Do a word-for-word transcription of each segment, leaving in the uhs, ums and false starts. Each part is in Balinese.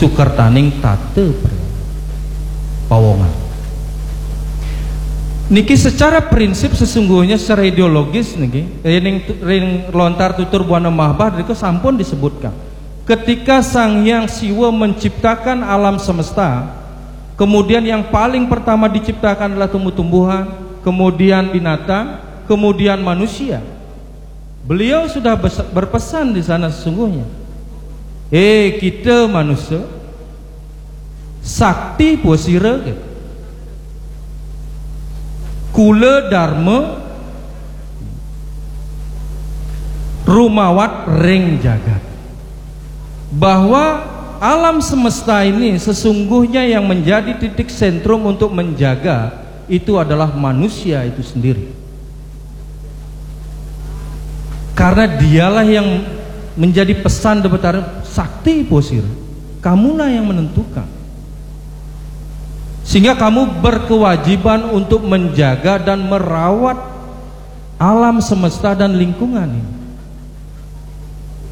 sukertaning tata pawongan. Niki secara prinsip sesungguhnya, secara ideologis niki, ring, ring lontar tutur Buana Mahabah, drika sampun disebutkan. Ketika Sang Hyang Siwa menciptakan alam semesta, kemudian yang paling pertama diciptakan adalah tumbuh-tumbuhan, kemudian binatang, kemudian manusia. Beliau sudah berpesan di sana sesungguhnya. Eh, kita manusia, sakti puasira, kula dharma rumawat ring jagat. Bahwa alam semesta ini sesungguhnya yang menjadi titik sentrum untuk menjaga itu adalah manusia itu sendiri. Karena dialah yang menjadi pesan Debata, sakti puasira. Kamulah yang menentukan. Sehingga kamu berkewajiban untuk menjaga dan merawat alam semesta dan lingkungan ini.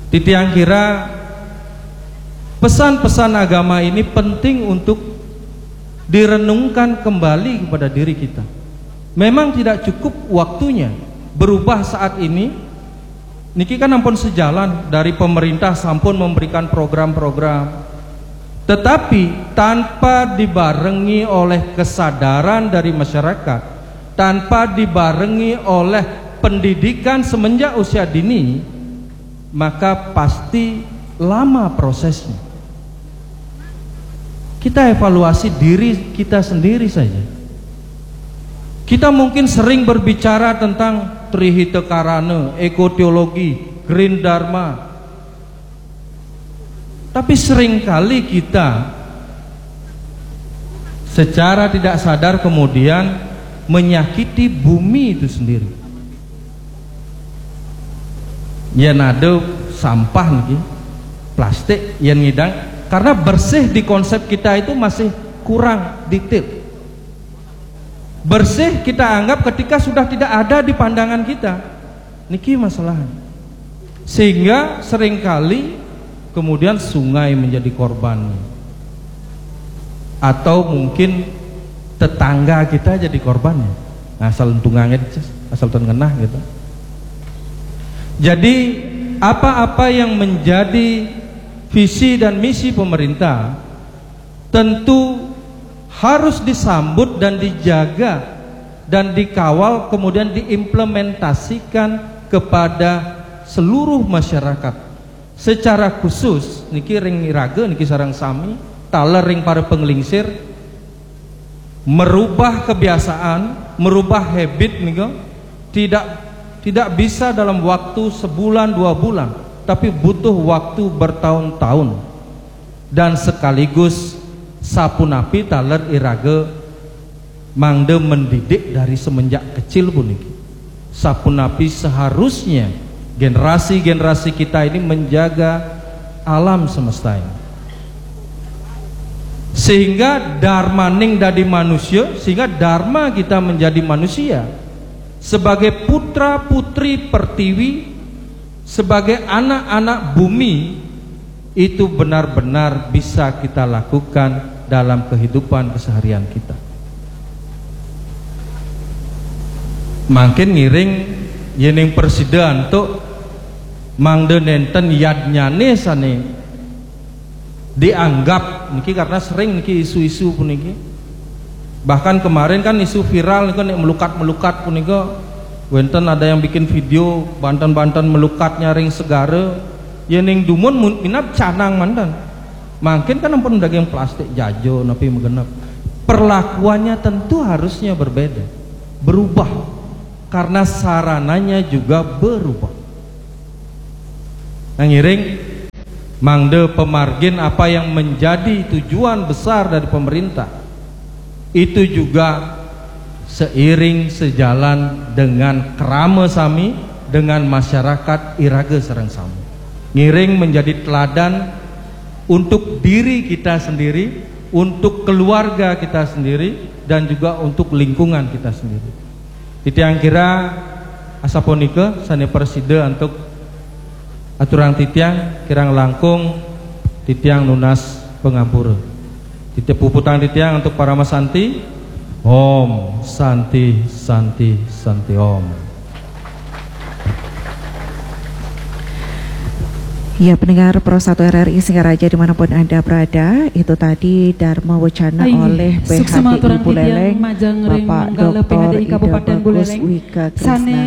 Titiang kira pesan-pesan agama ini penting untuk direnungkan kembali kepada diri kita. Memang tidak cukup waktunya berubah saat ini. Niki kan ampun sejalan dari pemerintah sampun memberikan program-program. Tetapi tanpa dibarengi oleh kesadaran dari masyarakat, tanpa dibarengi oleh pendidikan semenjak usia dini, maka pasti lama prosesnya. Kita evaluasi diri kita sendiri saja. Kita mungkin sering berbicara tentang Trihita Karana, ekoteologi, Green Dharma. Tapi seringkali kita secara tidak sadar kemudian menyakiti bumi itu sendiri. Yen ada sampah niki, plastik, yen ngidang, karena bersih di konsep kita itu masih kurang detail. Bersih kita anggap ketika sudah tidak ada di pandangan kita. Niki masalahnya. Sehingga seringkali kemudian sungai menjadi korban. Atau mungkin tetangga kita jadi korbannya. Nah, asal untungannya, asal ten ngenah gitu. Jadi, apa-apa yang menjadi visi dan misi pemerintah tentu harus disambut dan dijaga dan dikawal, kemudian diimplementasikan kepada seluruh masyarakat. Secara khusus niki ring iraga niki sareng sami, taler ring para penglingsir, merubah kebiasaan, merubah habit nika tidak tidak bisa dalam waktu sebulan dua bulan, tapi butuh waktu bertahun-tahun. Dan sekaligus sapunapi taler iraga mangda mendidik dari semenjak kecil puniki. Sapunapi seharusnya generasi-generasi kita ini menjaga alam semesta ini. Sehingga dharmaning dadi manusia, sehingga dharma kita menjadi manusia. Sebagai putra putri pertiwi, sebagai anak-anak bumi, itu benar-benar bisa kita lakukan dalam kehidupan keseharian kita. Mangkin ngiring yening prasida antuk mangda nenten yadnyane sane dianggap niki, karena sering niki isu-isu puniki. Bahkan kemarin kan isu viral nika nek melukat-melukat punika, wenten ada yang bikin video banten-banten melukatnya ring segara, yening dumun mun-, minab canang manten. Mangkin kan ampun daging plastik jajo napi magenep. Perlakuannya tentu harusnya berbeda, berubah, karena sarananya juga berubah. Nah, ngiring mangda pamargin apa yang menjadi tujuan besar dari pemerintah itu juga seiring sejalan dengan krama sami dengan masyarakat iraga sareng sami. Ngiring menjadi teladan untuk diri kita sendiri, untuk keluarga kita sendiri, dan juga untuk lingkungan kita sendiri. Titiang kira asapunika sane prasida antuk aturang titiang, kirang langkung titiang nunas Pangampura. Titip puputang titiang antuk paramasanti. Om Santi, Santi, Santi Om. Ya, pendengar Pro satu R R I Singaraja dimanapun Anda berada, itu tadi Dharma Wacana oleh P H D I Buleleng, Bapak Doktor Ida Bagus Wigaksana,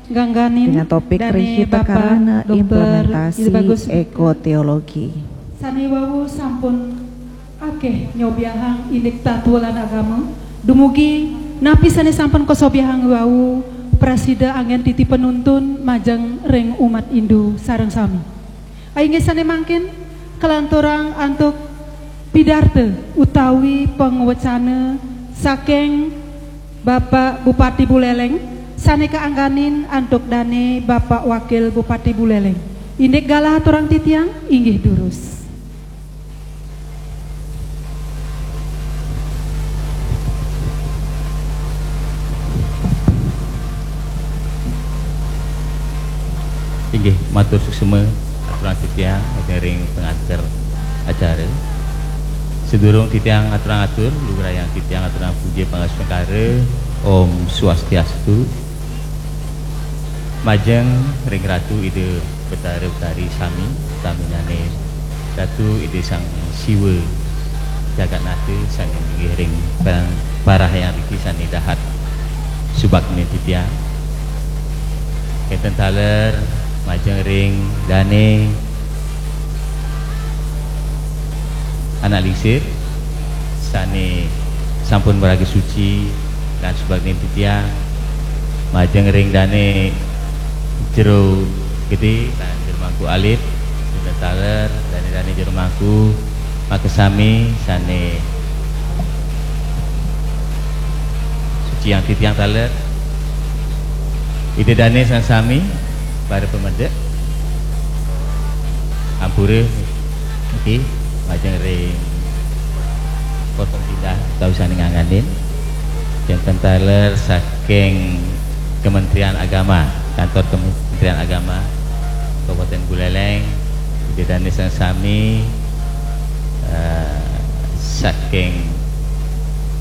dengan topik Rihita Karana Implementasi Ekoteologi. Sane wau sampun akeh nyobiahang indik tatwa lan agama. Dumugi napi sane sampun kasobiahang wau prasida anggen titi penuntun majeng ring umat Hindu sareng sami. Inggih sane mangkin kalanturang antuk pidarta utawi pangwecana saking Bapak Bupati Buleleng sane kaangganin antuk dane Bapak Wakil Bupati Buleleng. Indik galah aturang titiang, inggih durus. Inggih, matur suksma aturang titiang ring pengantar acara. Sedurung titiang aturang atur, lugrayang titiang aturang puja pangastungkara. Om Swastiastu. Majeng ring Ratu Ida Betara Betari sami, saminane Ratu Ida Sang Siwa Jagatnata sane inggih ring parahayang riki sane dahat subakti titiang. Kenten taler majeng ring dane anak lingsir sane sampun maraga suci lan subakti titiang, majeng ring dane jero gede lan jero mangku alit, kenten taler dane-dane jero mangku makasami sane suci yang titiang taler. Ida dane sami para pamedek. Ampura niki majeng ring potong pindah utawi sane ngangganin. Kenten taler saking Kementerian Agama, kantor Kementerian Agama Kabupaten Buleleng, ida dane sami, eh, saking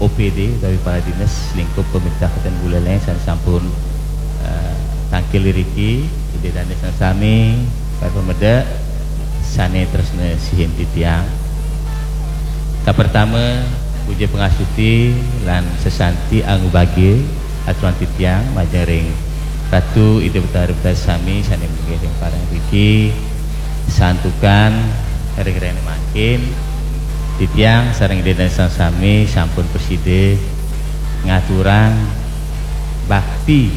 O P D utawi para dinas lingkup pemerintah Kabupaten Buleleng sane sampun, eh, tangkil iriki, ida dane sami, para pamedek sane tresna sihin titiang. Kapertama, puja pangastuti lan sesanti angubagia aturang titiang majeng ring Ratu Ida Betara Betari sami sane inggih ring parahayang riki, santukan ring rena mangkin titiang sareng ida dane sami sampun prasida ngaturang bakti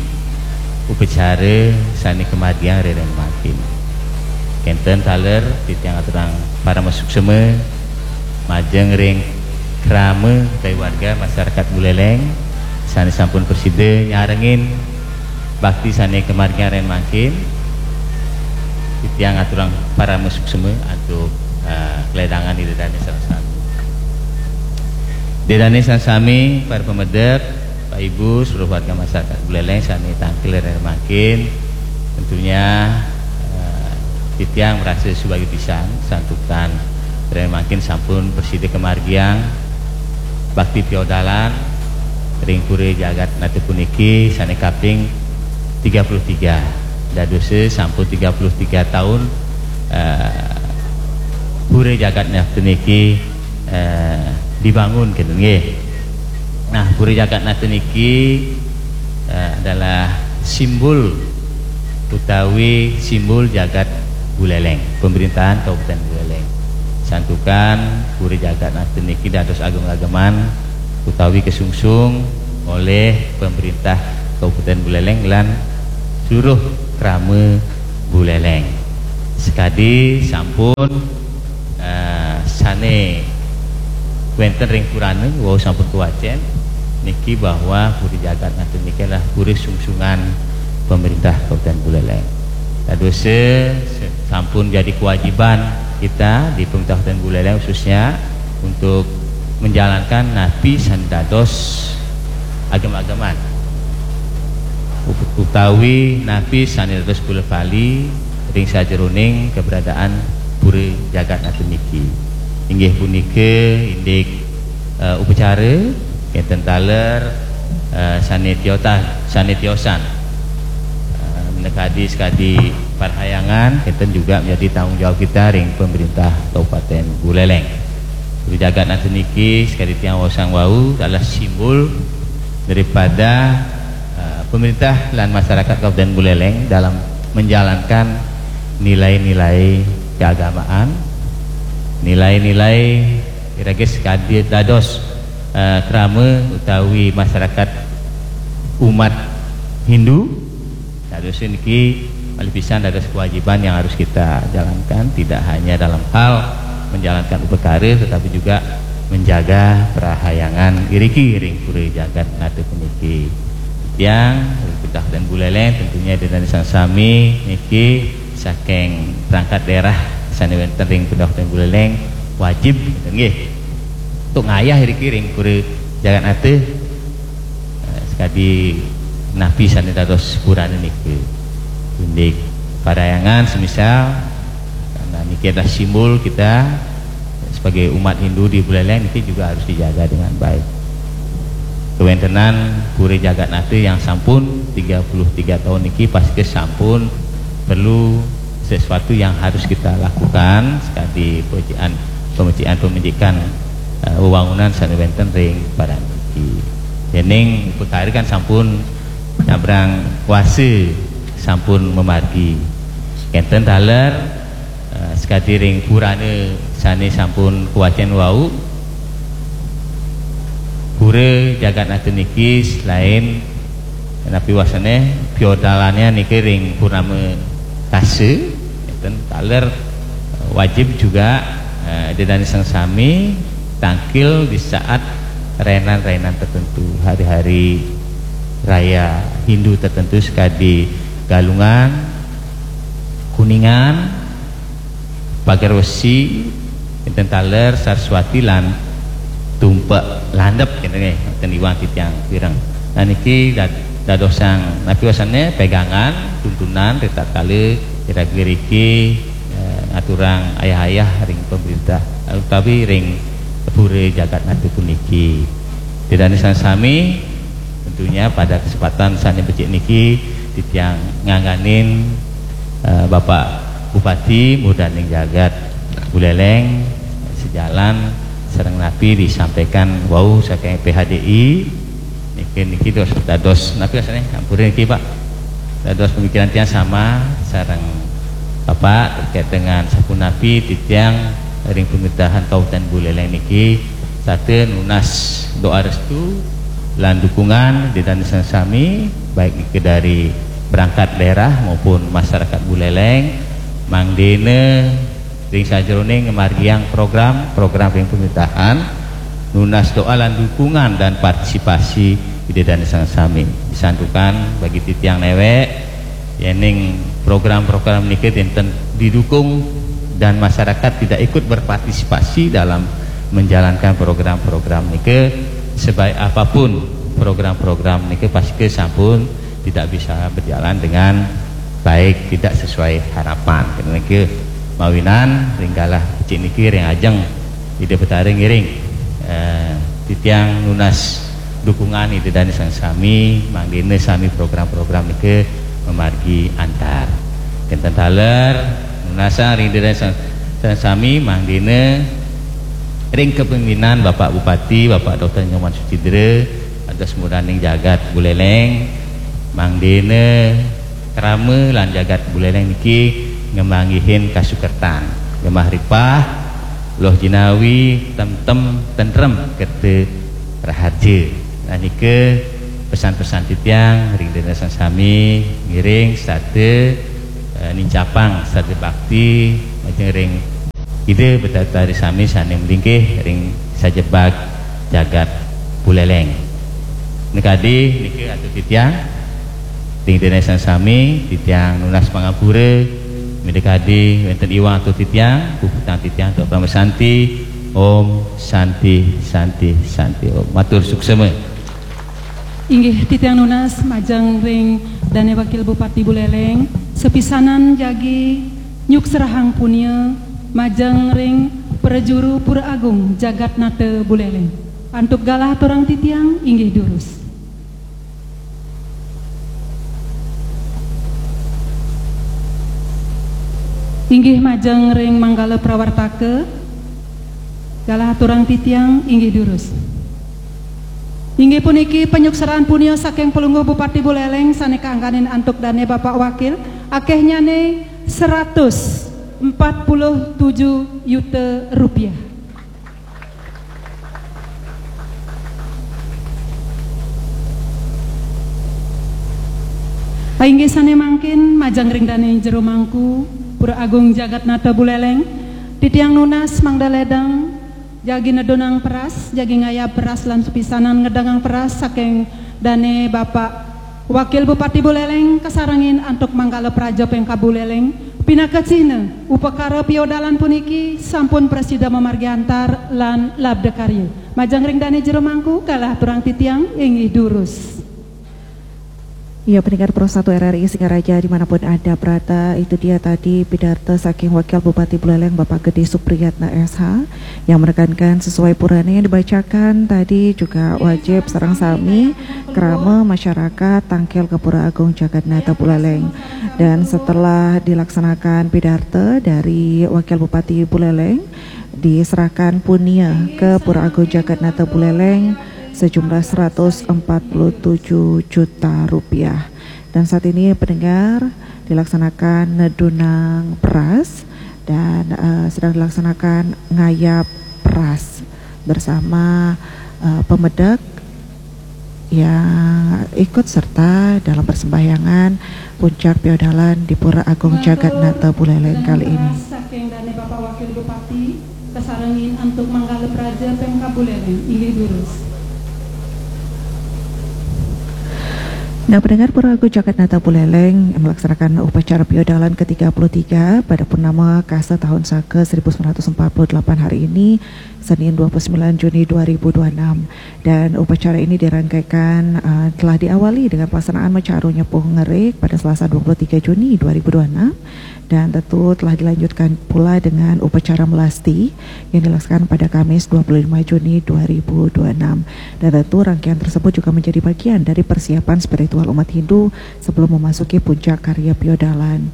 upacara sane kamargiang ring rena mangkin. Kenten taler titiang aturang parama suksema majeng ring krama utawi warga masyarakat Buleleng sane sampun prasida nyarengin bakti sane kamargiang ring rena mangkin. Titiang aturang parama suksema antuk, eh, kledangan ida dane sareng sami. Ida dane sareng sami, para pamedek, Pak Ibu, seluruh warga masyarakat Buleleng sane tangkil ring rena mangkin, tentunya, eh, titiang merasa subagia pisan santukan ring rena mangkin sampun prasida kamargiang bakti piodalan ring Pura Jagat Nata puniki sane kaping tiga puluh tiga. Dados sampun tiga puluh tiga taun, eh, Pura Jagat Nata niki, eh, dibangun, kenten nggih. Nah, Pura Jagat Nata niki, eh, adalah simbol utawi simbol jagat Buleleng, pemerintahan Kabupaten Buleleng. Santukan Pura Jagat Nata niki dados agem-ageman utawi kesungsung oleh pemerintah Kabupaten Buleleng lan seluruh krama Buleleng. Sekadi sampun, eh, sane wenten ring purana wau sampun kawacen niki bahwa Puri Jagat Nata niki adalah puri sungsungan pemerintah Kabupaten Buleleng. Dados se-, sampun jadi kewajiban kita di pemerintah Kabupaten Buleleng khususnya untuk menjalankan napi sane dados agem-ageman ut-, utawi napi sane dados bola bali ring sajeroning keberadaan Puri Jagat Nata niki. Inggih punika indik uh, upacara kenten taler uh, sane tiota sane tiosan uh, menekadi sekadi parhayangan kenten juga menjadi tanggung jawab kita ring pemerintah Kabupaten Buleleng. Puri jagat nata niki sekadi tiang wasang wau adalah simbol daripada uh, pemerintah dan masyarakat Kabupaten Buleleng dalam menjalankan nilai-nilai keagamaan, nilai-nilai iraga sekadi dados uh, krama utawi masyarakat umat Hindu. Dados niki malih pisan dados kewajiban yang harus kita jalankan, tidak hanya dalam hal menjalankan upakara tetapi juga menjaga perahyangan iriki ring pura jagat nata puniki. Tiang Kabupaten Buleleng tentunya dengan sang sami niki saking perangkat daerah sane wenten ring Kabupaten Buleleng wajib nggih untuk ngayah iriki ring pura jagat nata eh, sekadi napi sane dados purane niki. Indik parahyangan semisal karena niki adalah simbol kita sebagai umat Hindu di Buleleng niki juga harus dijaga dengan baik. Kewentenan pura jagat nata yang sampun tiga puluh tiga tahun niki pasti sampun perlu sesuatu yang harus kita lakukan sekadi pemecikan pemecikan pemecikan uh, wewangunan sane wenten ring paran niki. Dening perkara kan sampun nyabrang kuasa sampun memargi. Kenten taler uh, sekadi ring purana sane sampun kuwacen wau. Pura jagat nata niki selain napi wasane piodalane niki ring purnama kasa enten taler uh, wajib juga uh, didani sang sami tangkil di saat rainan-rainan tertentu hari-hari raya Hindu tertentu sekadi Galungan, Kuningan, Pagar Wesi, enten taler Saraswati lan Tumpek Landep kenten nggih, enten iwang titiang pireng. Nah niki dad- dadosang napi wasane pegangan tuntunan ritatkala iraga riki eh, ngaturang ayah-ayah ring pemerintah utawi ring pura jagat nata puniki. Didani sang sami tentunya pada kesempatan sane becik niki titiang ngangganin uh, Bapak Bupati Murdaning Jagat Buleleng sejalan sareng napi disampaikan wau saking P H D I niki niki dados dados napi rasane ampura niki Pak dados pemikiran tiang sama sareng Bapak terkait dengan sapunapi titiang ring pemerintahan Kabupaten Buleleng niki sate nunas doa restu lan dukungan didani sang sami baik niki dari perangkat daerah maupun masyarakat Buleleng mangdene ring sajeroning ngamargiang program-program ring pemerintahan nunas doa lan dukungan dan partisipasi didani sang sami. Disantukan bagi titiang newek yening program-program niki enten didukung dan masyarakat tidak ikut berpartisipasi dalam menjalankan program-program niki sebaik apapun program-program niki pasti sampun tidak bisa berjalan dengan baik tidak sesuai harapan. Kena niki mawinan ring galah becik niki ring ajeng Ida Betara ngiring eh, titiang nunas dukungan Ida Dane sang sami mangdene sami program-program nike memargi antar. Kenten taler nunasang ring Ida Dane sang, sang sami mangdene ring kepemimpinan Bapak Bupati, Bapak Doktor Nyoman Sucidre, atas muraning jagat Buleleng, mangdene krama lan jagat Buleleng niki ngemanggihin kasukertan, gemah ripah, loh jinawi, temtem, tentrem, kerta raharja. Nah nika pesan-pesan titiang ring dene sang sami ngiring sarta eh, nincapang sarta bakti majeng ring Ida Betara sami sane mlingkih ring sajebag jagat Buleleng. Nekadi nika atur titiang ring dene sang sami titiang nunas pangampura midakadi wenten iwang atur titiang puputang titiang tok pamasanti. Om Santi Santi Santi Om. Matur suksema. Inggih titiang nunas majeng ring Dane Wakil Bupati Buleleng, sepisanan jagi nyukserahang punia majeng ring Prajuru Pura Agung Jagat Nata Buleleng. Antuk galah aturang titiang inggih durus. Inggih majeng ring manggala prawartaka, galah aturang titiang inggih durus. Inggih puniki panyuksraan punia saking Palungguh Bupati Buleleng sane kaangganin antuk dane Bapak Wakil, akehnyane seratus empat puluh tujuh juta rupiah. Inggih sane mangkin majeng ring dane jero mangku, Pura Agung Jagat Nata Buleleng, titiang nunas mangda ledang jagi nedunang peras, jagi ngayab peras lan supisanan ngedengang peras saking dane Bapak Wakil Bupati Buleleng kasarengin antuk manggala praja pengkab Buleleng, pinaka cihna upakara piodalan puniki sampun prasida mamargi antar lan labda karya. Majeng ring dane jero mangku, galah aturang titiang inggih durus. Ya, pendengar Pro satu R R I Singaraja dimanapun Anda berada, itu dia tadi pidarta saking Wakil Bupati Buleleng Bapak Gede Supriyatna S H yang menekankan sesuai purana yang dibacakan tadi juga wajib sareng sami krama masyarakat tangkil ka Pura Agung Jagat Nata Buleleng. Dan setelah dilaksanakan pidarta dari Wakil Bupati Buleleng, diserahkan punia ke Pura Agung Jagat Nata Buleleng sejumlah seratus empat puluh tujuh juta rupiah. Dan saat ini pendengar dilaksanakan nedunang peras dan eh, sedang dilaksanakan ngayab peras bersama eh, pemedek yang ikut serta dalam persembahyangan puncak piodalan di Pura Agung Jagat Nata Buleleng kali ini. Saking dane Bapak Wakil Bupati, kasarengin antuk manggala praja pengkab Buleleng, inggih durus. Nah, pendengar, Pura Agung Jagat Nata Buleleng melaksanakan upacara piodalan ketiga puluh tiga pada purnama Kasa tahun Saka seribu sembilan ratus empat puluh delapan hari ini, Senin dua puluh sembilan Juni dua ribu dua puluh enam. Dan upacara ini dirangkaikan uh, telah diawali dengan pelaksanaan macaru nyepuh ngerik pada Selasa dua puluh tiga Juni dua ribu dua puluh enam. Dan tentu telah dilanjutkan pula dengan upacara melasti yang dilaksanakan pada Kamis dua puluh lima Juni dua ribu dua puluh enam. Dan tentu rangkaian tersebut juga menjadi bagian dari persiapan spiritual umat Hindu sebelum memasuki puncak karya piodalan.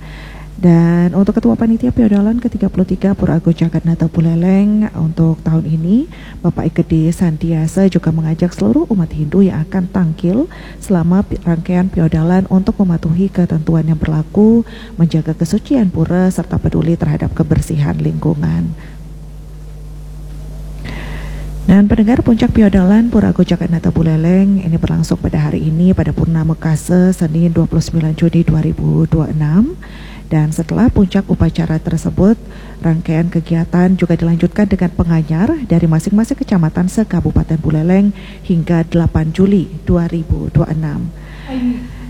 Dan untuk Ketua Panitia Piodalan ketiga puluh tiga Pura Agung Jagat Nata Buleleng untuk tahun ini, Bapak Igede Santiasa juga mengajak seluruh umat Hindu yang akan tangkil selama pi- rangkaian piodalan untuk mematuhi ketentuan yang berlaku, menjaga kesucian pura, serta peduli terhadap kebersihan lingkungan. Dan pendengar, puncak piodalan Pura Agung Jagat Nata Buleleng ini berlangsung pada hari ini pada Purnama Kasa Senin dua puluh sembilan Juni dua ribu dua puluh enam. Dan setelah puncak upacara tersebut, rangkaian kegiatan juga dilanjutkan dengan penganyar dari masing-masing kecamatan se-Kabupaten Buleleng hingga delapan Juli dua ribu dua puluh enam.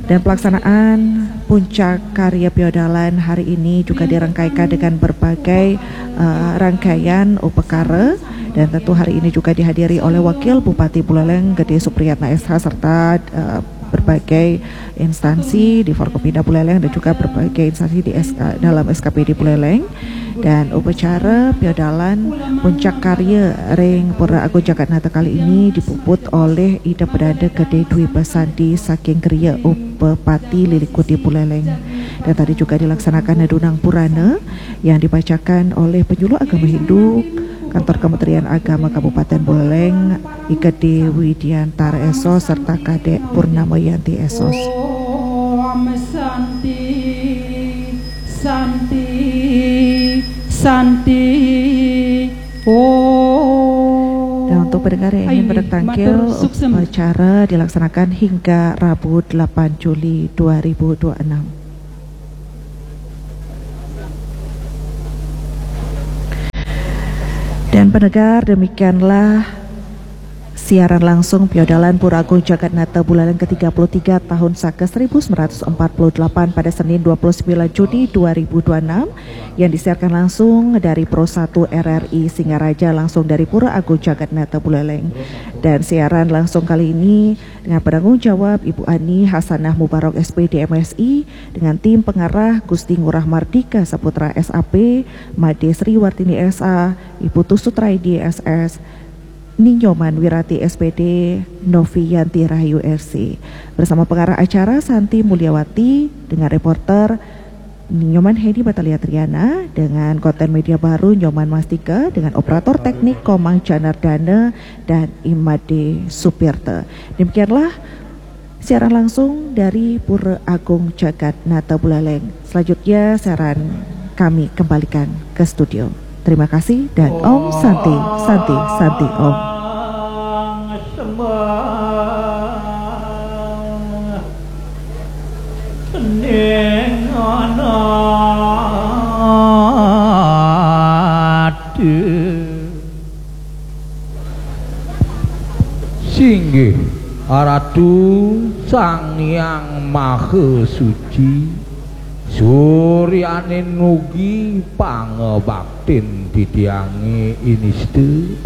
Dan pelaksanaan puncak karya piodalan hari ini juga dirangkaikan dengan berbagai eh, rangkaian upakara, dan tentu hari ini juga dihadiri oleh Wakil Bupati Buleleng Gede Supriyatna S H serta eh, berbagai instansi di Forkopimda Buleleng dan juga berbagai instansi di S K, dalam S K P D Buleleng. Dan upacara piodalan puncak karya ring Pura Agung Jagat Nata kali ini dipuput oleh Ida Pedanda Gede Dwi Basanti saking Griya Upapati Lilikuti Buleleng. Dan tadi juga dilaksanakan nedunang purana yang dibacakan oleh penyuluh agama Hindu Kantor Kementerian Agama Kabupaten Buleleng, Igede Widiantara Esos serta Kadek Purnama Yanti Esos. Om Santi, Santi, Santi, Om. Dan untuk pendengar yang ingin Inggih, bertangkil, matur suksema. Upacara dilaksanakan hingga Rabu delapan Juli dua ribu dua puluh enam. Dan pendengar, demikianlah Siaran langsung piodalan Pura Agung Jagat Nata Buleleng ketiga puluh tiga tahun saka seribu sembilan ratus empat puluh delapan pada Senin dua puluh sembilan Juni dua ribu dua puluh enam yang disiarkan langsung dari Pro satu R R I Singaraja, langsung dari Pura Agung Jagat Nata Buleleng. Dan siaran langsung kali ini dengan penanggung jawab Ibu Ani Hasanah Mubarok S P D M Si, dengan tim pengarah Gusti Ngurah Mardika Saputra S A P, Made Sri Wartini S A, Ibu Tusutraidi S S, Ninyoman Wirati S P D, Novi Yanti Rahayu S C. Bersama pengarah acara Santi Mulyawati, dengan reporter Ninyoman Hedi Batalia Triana, dengan konten media baru Nyoman Mastika, dengan operator teknik Komang Janardana dan Imade Supirta. Demikianlah siaran langsung dari Pura Agung Jagat Nata Buleleng. Selanjutnya siaran kami kembalikan ke studio. Terima kasih dan Om Santi, Santi, Santi Om. Singgih Ratu Sang Hyang Maha Suci, suryaning ugi pangabaktin titiange inista.